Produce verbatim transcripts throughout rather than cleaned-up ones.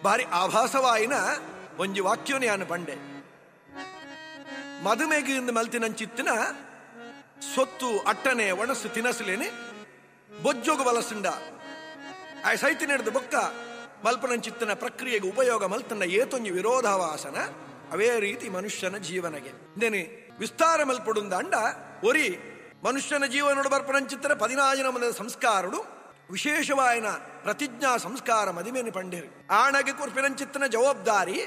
ಬಾರಿ ಆಭಾಸವಾಯಿನ ಒಂಜಿ ವಾಕ್ಯೋನೆ ಪಂಡೆ. ಮದುಮೆಗೆ ಮಲ್ತಿನಂಚಿತ್ತಿನ ಸೊತ್ತು ಅಟ್ಟನೆ ಒಣಸು ತಿನಸುಲೇನೆ ಬೊಜ್ಜೋಗು ಬಲಸುಂಡ ಆ ಸೈತಿ ನಡೆದು ಬೊಕ್ಕ ಮಲ್ಪನಂಚಿತ್ತಿನ ಪ್ರಕ್ರಿಯೆಗೆ ಉಪಯೋಗ ಮಲ್ತನ ಏತೊಂಜಿ ವಿರೋಧಾವಾಸನ ಅವೇ ರೀತಿ ಮನುಷ್ಯನ ಜೀವನಗೆ ಇಂದೇನೆ ವಿಸ್ತಾರ ಮಲ್ಪಡುಂದ ಅಂಡ ಒರಿ ಮನುಷ್ಯನ ಜೀವನೋಡು ಬರ್ಪನಂಚಿತ್ತಿನ ಪದಿನಾಜಿನ ಮನದ ಸಂಸ್ಕಾರುಡು ವಿಶೇಷವಾಯನ ಪ್ರತಿಜ್ಞಾ ಸಂಸ್ಕಾರ ಮದಿಮೇನೆ ಪಂಡೇರು. ಆಣಗೆ ಕೊರ್ಪಿನಂಚಿತ್ತಿನ ಜವಾಬ್ದಾರಿ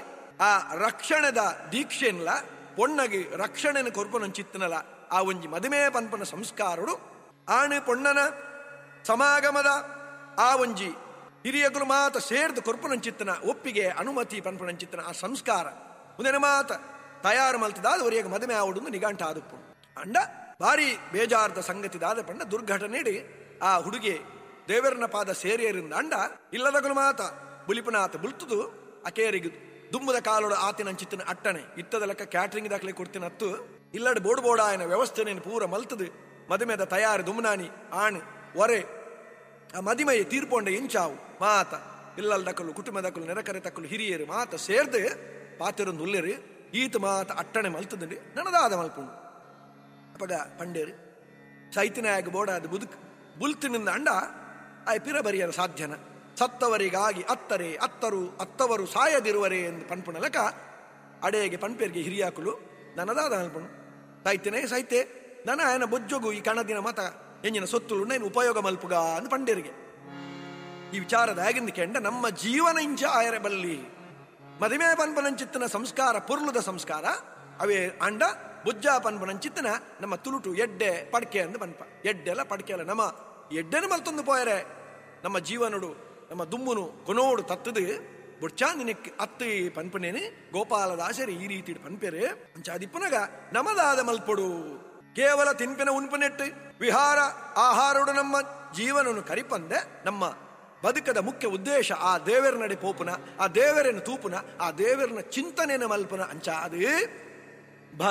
ಆ ರಕ್ಷಣದ ದೀಕ್ಷೆನ್ಲ ಪೊಣ್ಣಗೆ ರಕ್ಷಣೆನ ಕೊರ್ಪನಂಚಿತ್ತಿನಲ ಆ ಒಂಜಿ ಮದಿಮೆ ಪನ್ಪನ ಸಂಸ್ಕಾರುಡು ಆಣೆ ಪೊಣ್ಣನ ಸಮಾಗಮದ ಆ ಒಂಜಿ ಹಿರಿಯಗುರು ಮಾತ ಸೇರ್ದು ಕೊರ್ಪನಂಚಿತ್ತನ ಒಪ್ಪಿಗೆ ಅನುಮತಿ ಪನ್ಪನಂಚಿತ್ತನ ಆ ಸಂಸ್ಕಾರ ಮುಂದಿನ ಮಾತ ತಯಾರು ಮಲ್ತದಾದ ಒರಿಯಾಗ ಮದುವೆ ಆವಡು ನಿಘಂಟ ಆದುಪ್ಪು. ಅಂಡ ಭಾರಿ ಬೇಜಾರದ ಸಂಗತಿದಾದ ಪಂಡ ದುರ್ಘಟನೆ ಆ ಹುಡುಗಿ ದೇವರನ ಪಾದ ಸೇರಿಯರಿಂದ ಅಂಡ ಇಲ್ಲದಗುಲು ಮಾತ ಬುಲಿಪನಾತ ಬುಲ್ತುದು ಅಕೇರಿಗೆ ದುಮ್ಮದ ಕಾಲೋಡು ಆತಿನಂಚಿತ್ತಿನ ಅಟ್ಟಣೆ ಇತ್ತದ ಲೆಕ್ಕ ಕ್ಯಾಟ್ರಿಂಗ್ ದಾಖಲೆ ಕೊಡ್ತಿನತ್ತು ಇಲ್ಲಡೆ ಬೋಡು ಬೋಡ ಆಯನ ವ್ಯವಸ್ಥೆನೇನು ಪೂರ ಮಲ್ತದು ಮದುಮೆದ ತಯಾರು ದುಮ್ನಾನಿ ಆಣ್ ಒರೆ ಆ ಮದಿಮೈ ತೀರ್ಪೊಂಡ ಇಂಚಾವು ಮಾತ ಇಲ್ಲಲ್ದಕಲು ಕುಟುಂಬದಕಲು ನೆರಕರೆ ತಕ್ಕಲು ಹಿರಿಯರು ಮಾತ ಸೇರ್ದು ಪಾತಿರೊಂದು ಉಲ್ಲೇರು ಈತ ಮಾತ ಅಟ್ಟಣೆ ಮಲ್ತದಂಡಿ ನನದಾದ ಮಲ್ಪುಂಡು. ಅಪಗ ಪಂಡೇರು ಸೈತಿನಾಯಗ ಬೋಡಾದ ಬುದುಕ್ ಬುಲ್ತಿನಿಂದ ಅಂಡ ಆಯ್ ಪಿರ ಬರಿಯರ ಸಾಧ್ಯನ ಸತ್ತವರಿಗಾಗಿ ಅತ್ತರೆ ಅತ್ತರು ಅತ್ತವರು ಸಾಯದಿರುವರೆ ಎಂದು ಪನ್ಪುಣಲಕ ಅಡೆಗೆ ಪನ್ಪೇರಿಗೆ ಹಿರಿಯಾಕುಲು ನನದಾದ ಮಲ್ಪುಂಡು. ಸೈತಿನೇ ಸೈತೆ ನನ ಆಯನ ಬೊಜ್ಜೊಗು ಈ ಕಣದಿನ ಮತ ಎಂಜಿನ ಸೊತ್ತುಳು ನಾನು ಉಪಯೋಗ ಮಲ್ಪುಗ ಅಂದ್ ಪಂಡೇರಿಗೆ. ಈ ವಿಚಾರದ ಆಗಿಂದ ಕೆಂಡ ನಮ್ಮ ಜೀವನ ಇಂಚ ಆಯರ ಬಲ್ಲಿ ಮದಿಮೆ ಪನ್ಪನಂಚಿತ್ತನ ಸಂಸ್ಕಾರ ಪುರ್ಲುದ ಸಂಸ್ಕಾರ ಅವೇ ಅಂಡ ಬುಜ್ಜ ಪನ್ಪನಂಚಿತ್ತನ ನಮ್ಮ ತುಳುಟು ಎಡ್ಡೆ ಪಡ್ಕೆ ಅಂದ್ ಪನ್ಪ ಎಡ್ಡೆಲ್ಲ ಪಡ್ಕೆ ಅಲ್ಲ ನಮ್ಮ ಎಡ್ಡೆನ ಮಲ್ತೊಂದು ಪೋಯರೆ ನಮ್ಮ ಜೀವನಡು ನಮ್ಮ ದುಮ್ಮುನು ಕೊನೋಡು ತತ್ತದು ಬುಡ್ಚಾಂದಿನಕ್ಕೆ ಅತ್ತಿ ಪನ್ಪನೇನೆ ಗೋಪಾಲದಾಸರಿ ಈ ರೀತಿ ಪನ್ಪೆರೆ ಅಂಚಾದಿಪ್ಪನಗ ನಮದಾದ ಮಲ್ಪೊಡು ಕೇವಲ ತಿನ್ಪಿನ ಉನ್ಪನೆಟ್ಟು ವಿಹಾರ ಆಹಾರೋಡು ನಮ್ಮ ಜೀವನವನ್ನು ಕರಿಪಂದೆ ನಮ್ಮ ಬದುಕದ ಮುಖ್ಯ ಉದ್ದೇಶ ಆ ದೇವರ ನಡೆ ಪೋಪುನ ಆ ದೇವರನ್ನು ತೂಪುನ ಆ ದೇವರನ ಚಿಂತನೆಯನ್ನು ಮಲ್ಪುನ ಅಂಚ ಅದು